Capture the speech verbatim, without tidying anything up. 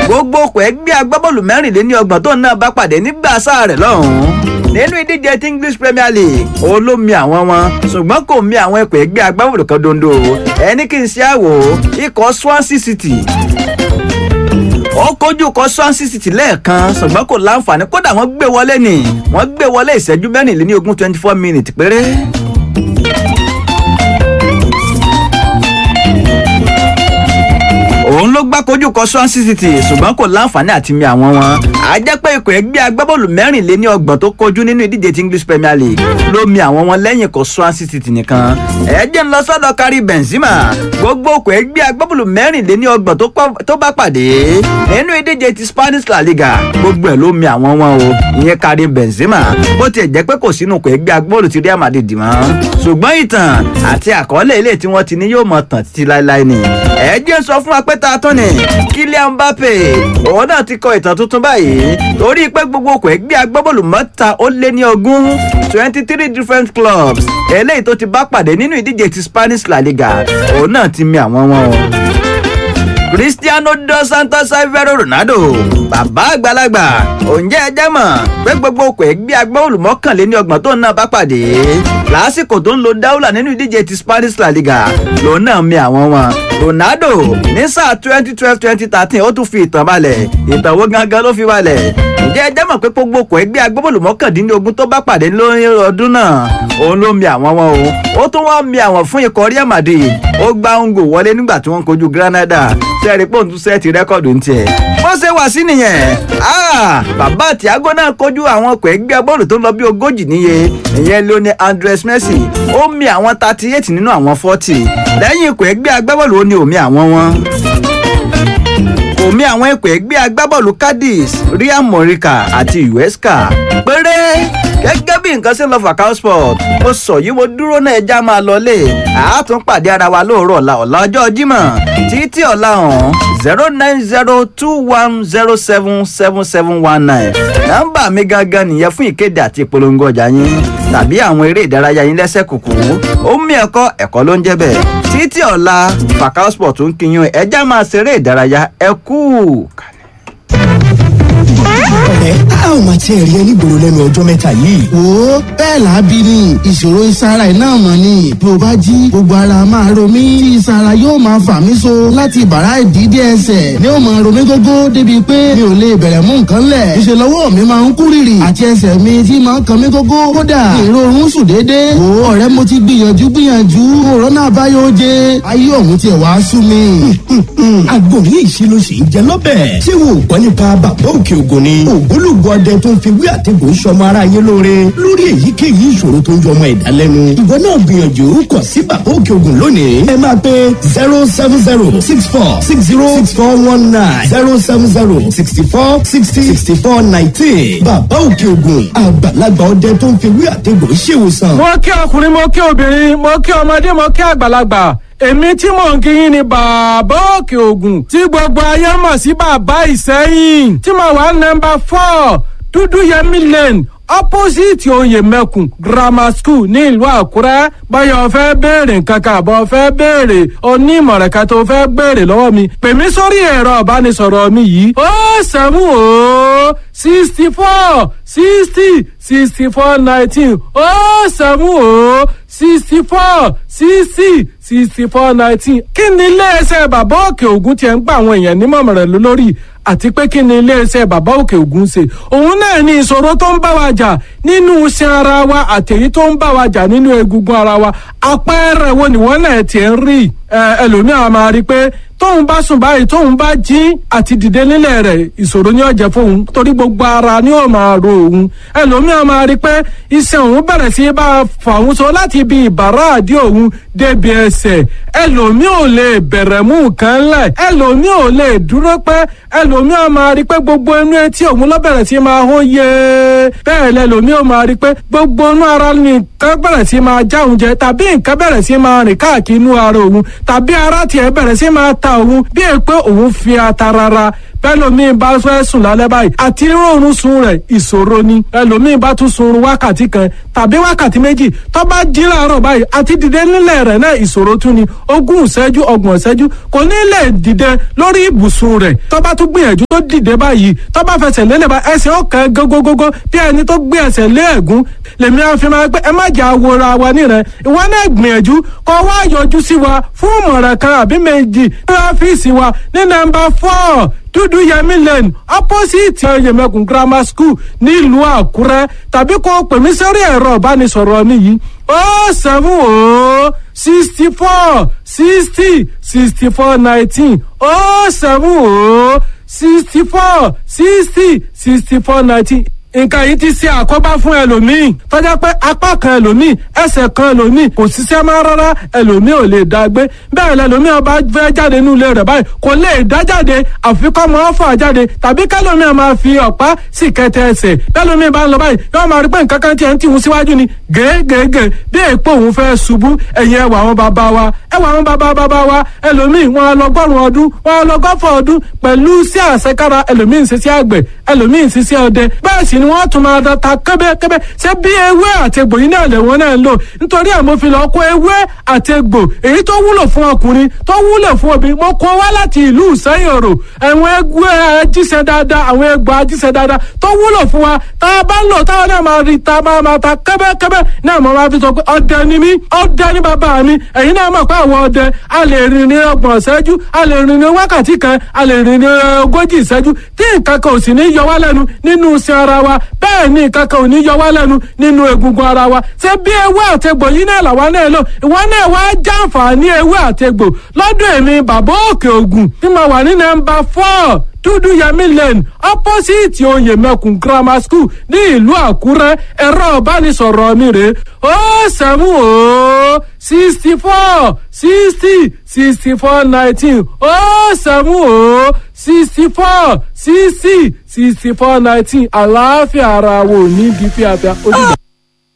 Gbogbo okò ẹgbẹ́ agbábọ́ọ̀lù mẹ́rìnléní ọgbọ̀n tó náà bá pàdé nígbà sáà rẹ̀ lọ́hùn-ún nínú ìdíje ti English Premier League, òun ló mi àwọn wọn, ṣùgbọ́n kò mi àwọn ikọ̀ ẹgbẹ́ agbábọ́ọ̀lù kan dondo. Ẹni kì í ṣe àwò ikọ̀ Swansea City, ó kojú kọ Swansea City lẹ́ẹ̀kan, ṣùgbọ́n kò láǹfààní. Kódà wọ́n gbé wọlé ni, wọ́n gbé wọlé ìṣẹ́jú mẹ́rìnléníogún, twenty four minutes péré. Òun ló gbá kojú kọ Swansea City, ṣùgbọ́n kò láǹfààní àti mi àwọn wọn. A jẹ́ pé ikọ̀ ẹgbẹ́ agbábọ́ọ̀lù mẹ́rìnléní ọgbọ̀n tó kojú nínú ìdíje ti English Premier League ló mi àwọn wọn lẹ́yìn kọ Swansea City nìkan. Ẹ jẹ́ ń lọ sọ́dọ̀ Karim Benzema. Gbogbo ikọ̀ ẹgbẹ́ agbábọ́ọ̀lù mẹ́rìnléní ọgbọ̀n tó bá pàdé nínú ìdíje ti Spanish La Liga, gbogbo ẹ̀ ló mi àwọn wọn o, ìyẹn Karim Benzema. Bó tiẹ̀ jẹ́ pé kò sínú ikọ̀ ẹgbẹ́ agbábọ́ọ̀lù ti Real Madrid mọ́, ṣùgbọ́n ìtàn àti àkọọ́lẹ̀ ilé tí wọ́n ti ní yóò mọ̀ tàn títí láéláé ni. Ẹ jẹ́ ń sọ fún wa pé ta tún ni Kylian Mbappe, òun náà ti kọ ìtàn tuntun báyìí, torí pé gbogbo okò ẹgbẹ́ agbábọ́ọ̀lù mẹ́ta ó lé ní ogún, twenty three different clubs eléyìí tó ti bá pàdé nínú ìdíje ti Spanish La Liga, òun náà ti mi àwọn wọn o. Cristiano dos Santos Aveiro Ronaldo, bàbá àgbàlagbà, òǹjẹ́ ẹjẹ́ mọ̀ pé gbogbo okò ẹgbẹ́ agbábọ́ọ̀lù mọ́kànléní ọgbọ̀n tó náà bá pàdé lásìkò tó ń lo dáúlà nínú ìdíje ti Spanish La Liga, lòun náà mi àwọn wọn. Ronaldo ní sáà twenty twelve twenty thirteen, ó tún fi ìtàn balẹ̀. Ìtàn wo gangan ló fi balẹ̀? Ǹjẹ́ ẹ jẹ́ mọ̀ pé gbogbo okò ẹgbẹ́ agbábọ́ọ̀lù mọ́kàndínlógún tó bá pàdé lórí ọdún náà, òun ló mi àwọn wọn o. Ó tún wá mi àwọn fún ikọ̀ Real Madrid. Ó gbá òǹgò wọlé nígbà tí wọ́n kojú Granada. Sẹ́ẹ̀rì pòun tún sẹ́ẹ̀tì rẹ́kọ̀dù ń tiẹ̀ bó ṣe wà sí nìyẹn. Bàbá Thiago náà kojú àwọn ọkọ̀ ẹgbẹ́ bọ́ọ̀lù tó ń lọ bí ogójì níye, ìyẹn Lionel Andres Messi. Ó mi àwọn thirty eight nínú àwọn forty. Lẹ́yìn ikọ̀ ẹgbẹ́ agbábọ́ọ̀lù, ó ní òmí àwọn wọn òmí àwọn ikọ̀ ẹgbẹ́ agbábọ́ọ̀lù Cadiz, Real Morica àti Huesca péré. Gẹ́gẹ́ bí nǹkan ṣe ń lọ, Fakao Sport, mo sọ yìí, mo dúró náà. Ẹja máa lọlé, àátún pàdé ara wa lóòrọ̀ ọ̀la, ọ̀la ọjọ́ Jímọ̀. Títí ọ̀la ọ̀hún, zero nine zero two one zero seven seven seven one nine, nọ́mbà mi gangan nìyẹn fún ìkéde àti ìpolongo ọjà yín tàbí àwọn eré ìdárayá yín lẹ́sẹ̀ kùkù. Ó mí ẹ̀kọ́ ẹ̀kọ́ ló ń jẹ́ bẹ́ẹ̀. Títí ọ̀la, Fakao Sport ń kíyún, ẹja máa ṣeré ìdárayá. Ẹ kú Ọ̀rẹ́, a ò máa tiẹ̀ rí ẹ nígboro lẹ́nu ọjọ́ mẹ́ta yìí. Wo, bẹ́ẹ̀ là á bí ni. Ìṣòro ìsara iná mọ̀ ni. Bí o bá jí, gbogbo ara máa ro mí tí ìsara yóò máa fà mí so láti bàrá ìdídé ẹsẹ̀ ni ó máa ro mí gógó, débi pé mi ò lè bẹ̀rẹ̀ mú nǹkan lẹ̀. Ìṣe lọ́wọ́ mi máa ń kú rìrì àti ẹsẹ̀ mi tí máa ń kan mí gógó. Kódà ìrorun sùn déédéé. Wo ọ̀rẹ́, mo ti gbìyànjú gbìyànjú, òrọ́nà àbáyọ oje, ayé òun tiẹ̀ wá sú mi. Àgbo yìí ṣe ló ṣe ń jẹ lọ́bẹ̀. Ṣé wo gbọ́ nípa Bàbá Òkè Ògùn ni? Ògbólógbò ọdẹ tó ń fi wí àtẹ̀gùn sọmọ ara yín lóore lórí èyíkéyìí ìṣòro tó ń jọmọ ẹ̀dá lẹ́nu. Ìwọ náà gbìyànjú kàn sí Bàbá Òkè Ògùn lónìí. Ẹ máa pe zero seven zero six four six zero six four one nine, zero seven zero sixty four sixty sixty four nineteen. Bàbá Òkè Ògùn, àgbàlagbà ọdẹ tó ń fi wí àtẹ̀gùn ṣèwòsàn. Mo kí ọkùnrin, mo kí obìnrin, mo kí ọmọdé, mo kí àgbàlagbà. Èmi tí mò ń kíyìn ni Bàbá Òkè Ògùn, tí gbogbo ayé mọ̀ sí Bàbá Ìsẹ́yìn, tí mo wà nọ́mbà four, Dúdú Yẹmí Lane, opposite Oyè Mẹ́kùn Grammar School ní ìlú Àkúrẹ́. Báyọ̀ fẹ́ béèrè nǹkan kan àbọ̀ fẹ́ béèrè onímọ̀ràn kan tó fẹ́ béèrè lọ́wọ́ mi, pè mí sórí ẹ̀rọ ìbánisọ̀rọ̀ mi yìí: ó sẹ́mu ó sixty four sixty sixty four nineteen, ó sẹ́mu ó sixty four sixty sixty four nineteen. Kí ni iléeṣẹ́ Bàbá Òkè Ògùn tiẹ̀ ń gba àwọn èèyàn nímọ̀ràn lórí, àti pé kí ni iléeṣẹ́ Bàbá Òkè Ògùn ṣe? Òun náà ni ìṣòro tó ń bá wa jà nínú iṣan ara wa àtèyí tó ń bá wa jà nínú egungun ara wa. Àpẹẹrẹ wo ni wọ́n náà tiẹ̀ ń rí? Ẹlòmíràn máa rí i pé tóun bá sùn báyìí, tóun bá jí, àti dìde nílẹ̀ rẹ̀, ìṣòro ni ó jẹ́ fóun, torí gbogbo ara ni ó máa ro òun. Ẹlòmíràn máa rí pé iṣan òun bẹ̀rẹ̀ sí bá a fà òun so láti ibi ìbàrá àdí òun débi ẹsẹ̀. Ẹlòmíì ò lè bẹ̀rẹ̀ mú nǹkan lẹ̀, ẹlòmíì ò lè dúró pẹ́. Ẹlòmíì máa rí pé gbogbo inú etí òun ló bẹ̀rẹ̀ sí máa hó yé. Bẹ́ẹ̀ lẹlòmíì ò máa rí pé gbogbo inú ara ni nǹkan bẹ̀rẹ̀ sí máa já òun jẹ, tàbí nǹkan bẹ̀rẹ̀ sí máa rìn káàkiri inú ara òun, tàbí ara tiẹ̀ bẹ̀rẹ̀ sí máa ta òun bí è pé òun fi ata rárá. Bẹ́lòmíì bá fẹ́ sùn lálẹ́ báyìí àti rọrùn sun rẹ̀ ìṣòro ni. Ẹlòmíì bá tún sunrun wákàtí kan tàbí wákàtí méjì, tó bá jí láàárọ̀ báyìí àti dìde nílẹ̀ rẹ̀ náà ìṣòro tún ni. Ogún ìṣẹ́jú, ọgbọ̀n ìṣẹ́jú kò ní lè dìde lórí ibùsùn rẹ̀. Tó bá tún gbìyànjú tó dìde báyìí, tó bá fẹsẹ̀ lélẹ̀ bá ẹsẹ̀ ọ̀kan gógógógó bí ẹni tó gbé ẹsẹ̀ lé ẹ̀gún. Lèmi á fi máa pé ẹ má jà wòra wa nírẹ̀. Ìwọ náà gbìyànjú kó wá yọjú sí wa fún ìmọ̀ràn kan àbí méjì ní ọ́fíìsì wa ní nọ́mbà four, Dúdú Yẹmí Lane, opposite Yẹmẹkùn Grammar School, nílùú Àkúrẹ́, tàbí kó o pè mí sórí ẹ̀rọ ìbánisọ̀rọ̀ mi yìí: oh seven oh sixty four sixty sixty four nineteen, oh seven oh sixty four sixty sixty four nineteen. Nǹkan yìí ti ṣe àkóbá fún ẹlòmíì tọ́jà pé apá kan ẹlòmíì, ẹsẹ̀ kan ẹlòmíì kò ṣiṣẹ́ mọ́ rárá, ẹlòmíì ò lè dá gbé bẹ́ẹ̀. Lẹlòmíì ọba fẹ́ jáde nínú ilé rẹ̀ báyìí, kò lè dá jáde, àfi kọ́ mọ́ fà jáde, tàbí kẹlòmíì máa fi ọ̀pá sì kẹtẹ ẹsẹ̀. Bẹ́lòmíì bá ń lọ báyìí, yóò máa rí pé nǹkan kan tiẹ̀ ń tìhun síwájú ni gègègè bí èèpo òun fẹ́ ṣubú. Ẹ̀yìn ẹwà àwọn bàbá wa, ẹwà àwọn bàbá bàbá wa, ẹlòmíì wọn lọgọ́rùn ọdún, wọn lọgọ́fọ̀ ọdún pẹ̀lú sí àṣekára. Ẹlòmíì ń ṣiṣẹ́ àgbẹ̀, ẹlòmíì ń ṣiṣẹ́ ọdẹ, bẹ́ẹ̀ sì ni wọ́n tún máa ta kébékébé. Ṣé bí ewé àti egbò yìí náà lẹ̀wọ̀n náà ń lò? Nítorí ẹ̀ mo fi lọ kó ewé àti egbò èyí tó wúlò fún ọkùnrin, tó wúlò fún obìnrin, mo kó wá láti ìlú Ìsẹ́yìn Òrò. Àwọn egbò ajíṣẹ́ dáadáa, àwọn egbò ajíṣẹ́ dáadáa tó wúlò fún wa tá a bá ń lò, táwọn náà máa rí ta máa máa ta kébékébé náà. Mo máa fi sọ pé ọdẹ ni mí, ọdẹ ni bàbá mi. Ẹ̀yin náà mọ̀ pé àwọn ọdẹ a lè rìn ní ọgbọ̀n ìṣẹ́jú, a lè rìn ní wákàtí kan, a lè rìn ní ogójì ìṣẹ́jú tí nǹkan kan ò sì ní yọ wá lẹ́nu nínú iṣẹ́ ara wa. Bẹ́ẹ̀ ni nǹkan kan ò ní yọ wá lẹ́nu nínú egungun ara wa. Ṣé bí ewé àtegbò yìí náà làwa náà lò? Ìwọ náà wá jàǹfààní ewé àtegbò lọ́dún èmi bàbá òkè ògùn tí mo wà ní nọ́mbà four, Dúdú Yẹmí Lane, opposite Oyèmẹkùn Grammar School, ní ìlú Àkúrẹ́. Ẹ̀rọ ìbánisọ̀rọ̀ mi rèé: ó seven ó sixty four sixty sixty four nineteen, ó seven ó sixty four sixty sixty four nineteen. Àlàáfíà ara wo ní di fíafíà ó dìgbà.